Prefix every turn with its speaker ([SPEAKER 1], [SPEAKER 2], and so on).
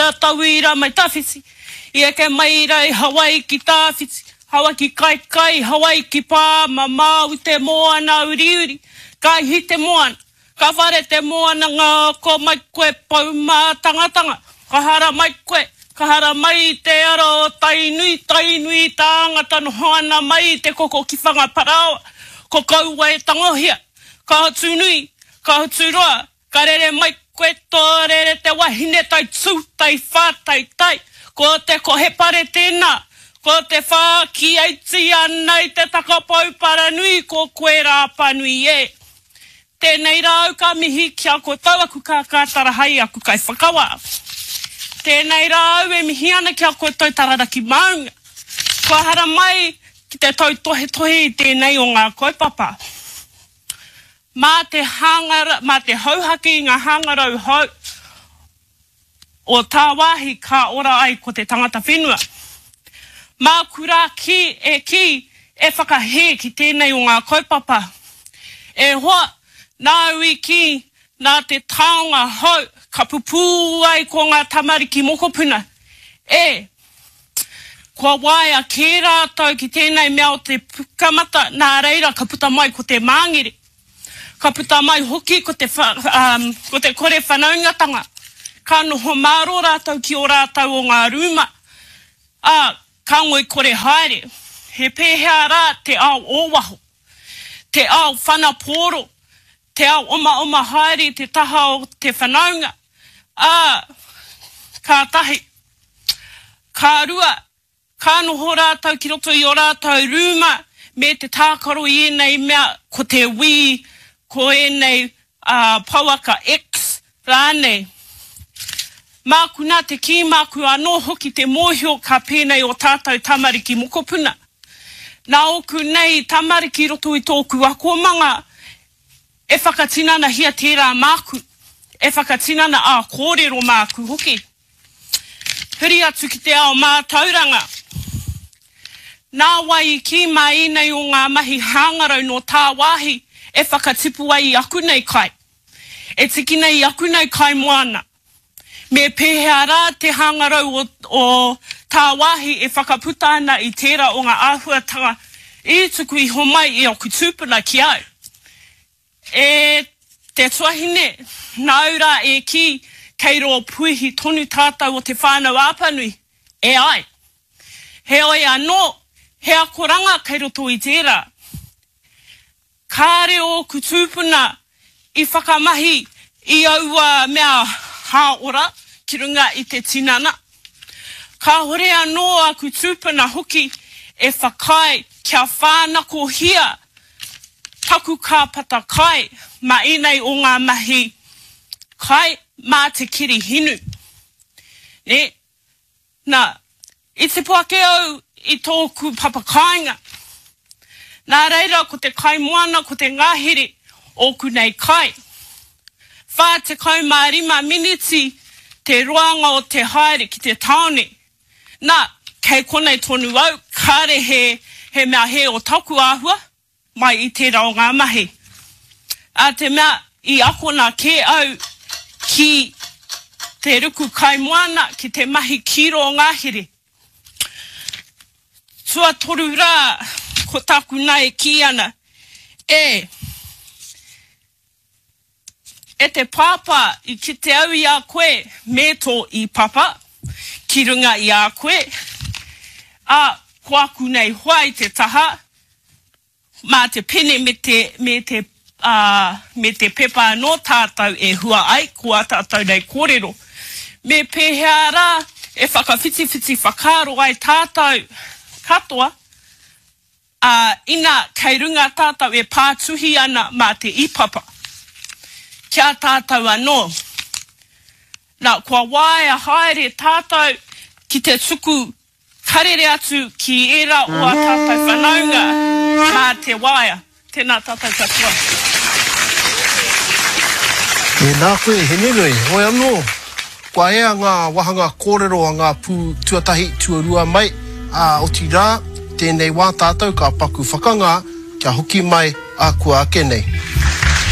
[SPEAKER 1] a tauira mai tawhiti, I eke mai ra i Hawaiki tawhiti, Hawaiki kaikai, Hawaiki pā, mamao i te moana uriuri, Ka ihi te moana, ka whare te moana Ngako mai koe pou mātangatanga, Ka hara mai koe, ka hara mai i te ara o Tainui, Tainui tāngata noho ana mai i te koko ki Whangaparaoa, Ko kaua e tangohia, ka hotu nui, ka hotu roa, Ka rere mai koe tō rere te wahine tai tū, tai whā, tai tai. Ko te kohepare tēnā, ko te whāki aiti ana i te takapou paranui ko koe Rāpanui e. Tēnei rā au ka mihi ki a koutou aku kākātara hai aku kaiwhakawā. Tēnei rā au e mihi ana ki a koutou Tararaki Māunga. Kua haramai ki te tautohetohe i tēnei o ngā kaupapa. Mā te hanga, mā te hauhake i ngā hangarau hou o tāwāhi ka ora ai ko te tangata whenua. Māku rā kī, e kī, e whakahē ki tēnei o ngā kaupapa. E hoa, nāu i kī, nā te taonga hou ka pupū ai ko ngā tamariki mokopuna. E! Kua waea kē rātou ki tēnei mea o te pukamata, nā reira ka puta mai ko te māngere. Ka puta mai hoki ko te, um, ko te kore whanaungatanga. Ka noho mārō rātou ki ō rātou o ngā rūma, ā, ka ngoikore haere. He pēhea rā te ao o waho? Te ao whanapōro, te ao omaoma haere i te taha o te whanaunga, ā, kātahi. Ka rua, ka noho rātou ki roto i ō rātou rūma me te tākaro i ēnei mea, ko te Wii, ko ēnei pouaka X rānei. Māku nā te kī, māku anō hoki te mōhio ka pēnei ō tātou tamariki mokopuna. Nā ōku nei tamariki i roto i tōku akomanga e whakatinanahia tērā māku, e whakatinana ā-kōrero māku hoki. Huri atu ki te ao mātauranga. Nā wai i kī mā ēnei o ngā mahi hāngarau nō tāwāhi e whakatipu ai i aku nei kai, e tiki nei i aku nei kai moana? Me pēhea rā te hāngarau o, o tāwāhi e whakaputa ana i tērā o ngā āhuatanga i tuku iho mai i aku tūpuna ki au? E te tuahine, nāu rā e kī, kei rō puihi tonu tātou o Te Whānau-a-Apanui, e ai. Heoi anō, he akoranga kei roto i tērā. Kāre ōku tūpuna i whakamahi i aua mea hāora ki runga i te tinana. Kāhore anō aku tūpuna hoki e whakaae kia whānakohia taku kāpata kai mā ēnei o ngā mahi kai mā te keri hinu. Nē? Nā, i tipu ake au i tōku papakāinga. Nā reira ko te kaimoana ko te ngahere ōku nei kai. 45 miniti te roanga o te haere ki te tāone. Nā, kei konei tonu au, kāre he, he mea hē o taku āhua mai i tērā o ngā mahi. Ā te mea i akona kē au ki te ruku kaimoana, ki te mahi ki rō ngahere. Tuatoru rā, ko tāku nā e kī ana, e. E te Pāpā, i kite au i a koe me tō īpapa ki runga i a koe, ā, ko aku nei hoa i te taha, mā te pene me te, me te, ā, me te pepa anō tātou e hua ai ko ā tātou nei kōrero. Me pēhea rā e whakawhitiwhiti whakaaro ai tātou katoa? Ā, ina kei runga tātou e pātuhi ana mā te īpapa, ki a tātou anō. Nā, kua waea haere tātou ki te tuku karere atu ki ērā o ā tātou whanaunga mā te waea. Tēnā tātou katoa.
[SPEAKER 2] Tēnā koe, Henenui. Hoi anō, kua ea ngā wāhanga kōrero a ngā pū tuatahi, tuarua mai, ā, otirā, tēnei wā tātou ka paku whakangā kia hoki mai ā kua ake nei.